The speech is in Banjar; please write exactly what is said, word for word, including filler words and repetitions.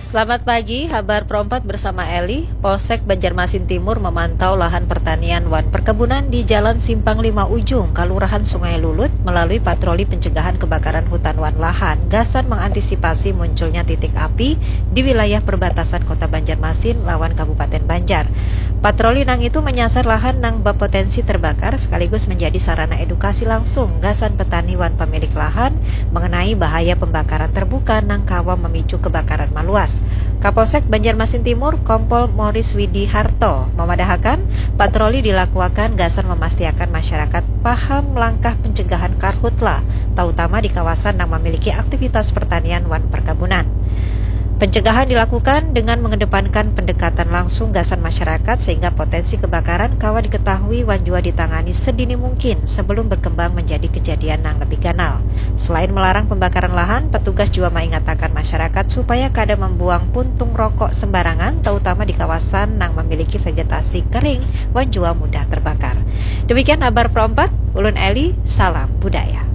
Selamat pagi, habar Pro empat bersama Eli. Polsek Banjarmasin Timur memantau lahan pertanian wan perkebunan di Jalan Simpang Lima Ujung, Kelurahan Sungai Lulut, melalui patroli pencegahan kebakaran hutan wan lahan, gasan mengantisipasi munculnya titik api di wilayah perbatasan Kota Banjarmasin lawan Kabupaten Banjar. Patroli nang itu menyasar lahan nang berpotensi terbakar sekaligus menjadi sarana edukasi langsung gasan petani wan pemilik lahan mengenai bahaya pembakaran terbuka nang kawa memicu kebakaran maluas. Kapolsek Banjarmasin Timur, Kompol Moris Widi Harto, memadahakan patroli dilakuakan gasan memastiakan masyarakat paham langkah pencegahan karhutla, terutama di kawasan yang memiliki aktivitas pertanian wan perkebunan. Pencegahan dilakukan dengan mengedepankan pendekatan langsung gasan masyarakat sehingga potensi kebakaran kawa diketahui wan jua ditangani sedini mungkin sebelum berkembang menjadi kejadian yang lebih ganal. Selain melarang pembakaran lahan, petugas juga mengatakan masyarakat supaya kada membuang puntung rokok sembarangan, terutama di kawasan yang memiliki vegetasi kering wan jua mudah terbakar. Demikian habar Pro empat, ulun Eli, salam budaya.